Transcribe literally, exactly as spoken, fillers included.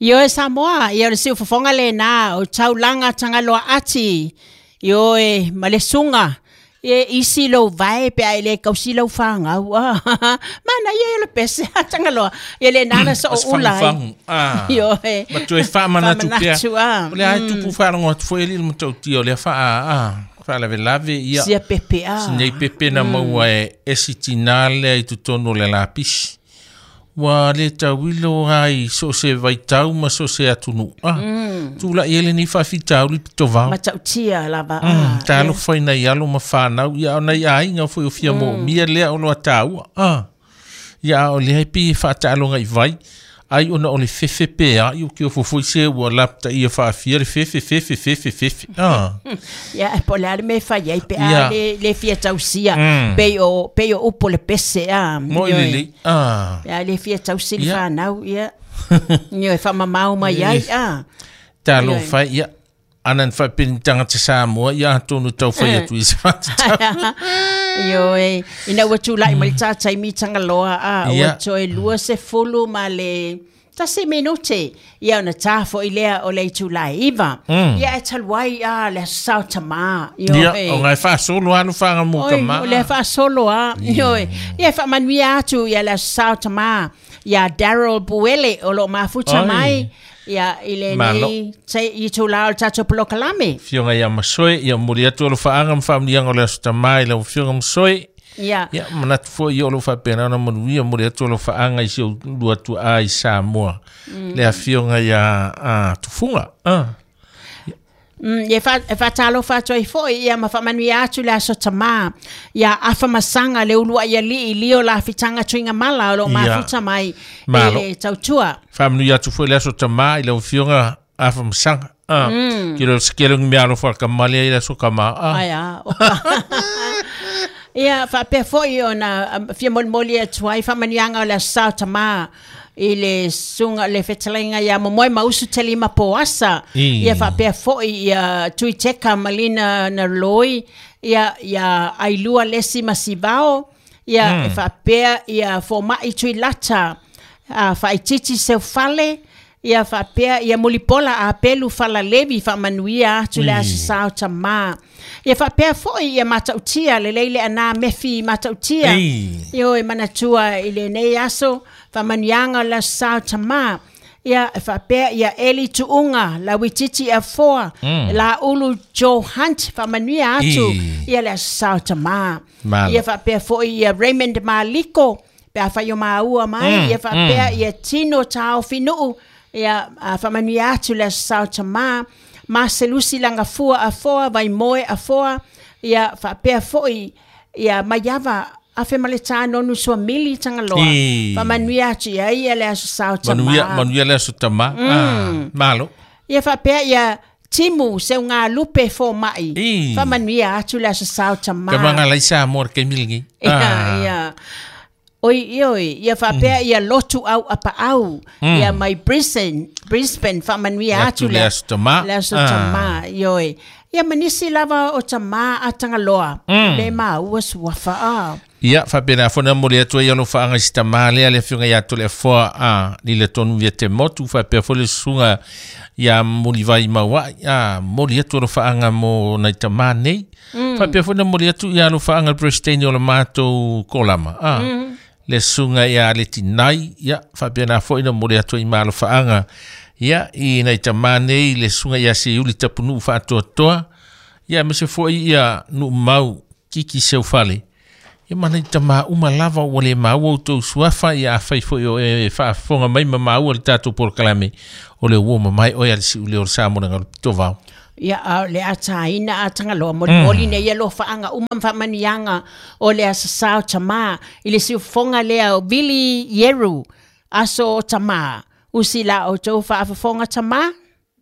Ioe Samoa, ia o le siufofoga lena o taulaga Tagaloa ati. Ioe ma le suga e isi lou vae pe a e lē kausi lau fagau a manaia ia o le pese a Tagaloa ia lena na soo ula ai. Ioe ma toe faamanatu pea o le a e tupu faalogo atu foi alii le matautia o lea faa faalavelave ia sia pepe a sinei pepe na maua e esi tinā lea i totonu o le lapisi ua le tauilo ai so se vaitau ma so se atunuu a tula'i ai lenei faafitauli pitovao matautia lava a talofa i nai alo ma fanau ia o nai aiga foi o fia moomia lea o loa taua a ia o lea e pei e faataaloga i vai ai ona o le fefe pea i o ke ofofoi se ua lapataia faafia le fefe fefe fefe fefe a ia po o le a le mea e fai ai pe a le le fia tausia pei o pei o upu le pese a mo'i lelei a pe a le fia tausi le fanau ia ioe faamamao mai ai a talofa ia ana na faapeni tagata Samoa ia atonu taufai atu i se faatatau Ioe ina ua tula'i mai le tataimi Tagaloa a ua toe lua sefulu ma le tasi minute ia ona tā fo'i lea o le itulā e iva ia e talu ai a le aso sa o tamā ioe o gae faasolo a lofaga mo tamā o lea faasolo a ioe ia e faamanuia atu ia le aso sa o tamā ia Daryl Buele o loo mafuta mai ia i lenei itulā o le tatou polokalame Fioga ia Masoe ia momoli atu alofaaga ma faamanuiaga o le aso tamā i lau afioga Masoe ia ia manatu foi ia o loo faapena ona manuia momoli atu alofaaga i si ou lua tuaa i Samoa le afioga ia Tufuga a Ia faatalofa atu ai foi ia ma faamanuia atu le aso tamā ia afamasaga le uluai alii lio lafitaga tuigamala o loo mafuta mai i le tautua faamanuia atu foi le aso tamā i lau afioga afamasaga a ke le sekele ngi mea alofa kamale ai le aso kamā a ai a ia faapea foi ona fia molimoli atu ai faamanuiaga o le aso sa o tamā i le suga le fetalaiga ia Momoe ma Usu Telima Poasa ia faapea foi ia Tuiteka Malina Naloi ia ia Ailua Lesi Masivao ia e faapea ia Foma'i Tuilata a Faaititi Seufale ia faapea ia Mulipola Apelu Falalevi faamanuia atu le aso sa o tamā ia faapea foi ia matautia lelei le ana mefi matautia ioe manatua i lenei aso faamanuiaga o le aso sa o tamā ia faapea ia Eli Tuuga Lauititi Afoa Laulu Joe Hunt faamanuia atu ia le aso sa o tamā ia faapea foi ia Raymond Maliko pe afai o maua mai ia faapea ia Tino Taofinuu ia faamanuia atu le aso sa o tamā Maselusi Lagafua Afoa Vaimoe Afoa ia faapea foi ia Maiava afe ma le tānonu suamili Tagaloa faamanuia atu ia ia le aso sa o tamā manuia manuia le aso tamā malo ia faapea ia Timu Seugalupe Foma'i faamanuia atu le aso sa o tamā tamaga lai Samoa le taimi lenei ia ia oi ioe ia faapea ia Lotu au apaau ia mai Brisbane Brisbane faamanuia atu le aso tamā le aso tamā ioe ia manisi lava o tamā a Tagaloa le maua suafa a ia faapena foi momoli atu ai alofaaga i si tamā lea le afioga ia Toleafoa a lile tonu ia te motu faapea foi le susuga ia Mulivai Maua'i a momoli atu alofaaga mo nai tamā nei faapea foi na momoli atu ia alofaaga le Presideni o le matou kolama a le susuga ia Letinai ia faapena foi na momoli atu ai ma alofaaga ia i nai tamā nei le susuga ia Seiuli Tapunuu Faatoatoa ia aemaise foi ia Nuumau Kiki Seufale ia ma nai tamā uma lava ua le maua outou suafa ia afai foi o e faafofoga mai ma maua le tatou polokalame o le ua mamae oe a le si'uleo o le Samoa le galu pitovao ia a le ataina a Tagaloa molimoli nei ia lofaaga uma ma faamanuiaga o le aso sa o tamā i le siufofoga lea o Vili Ieru aso o tamā usi la outou faafofoga tamā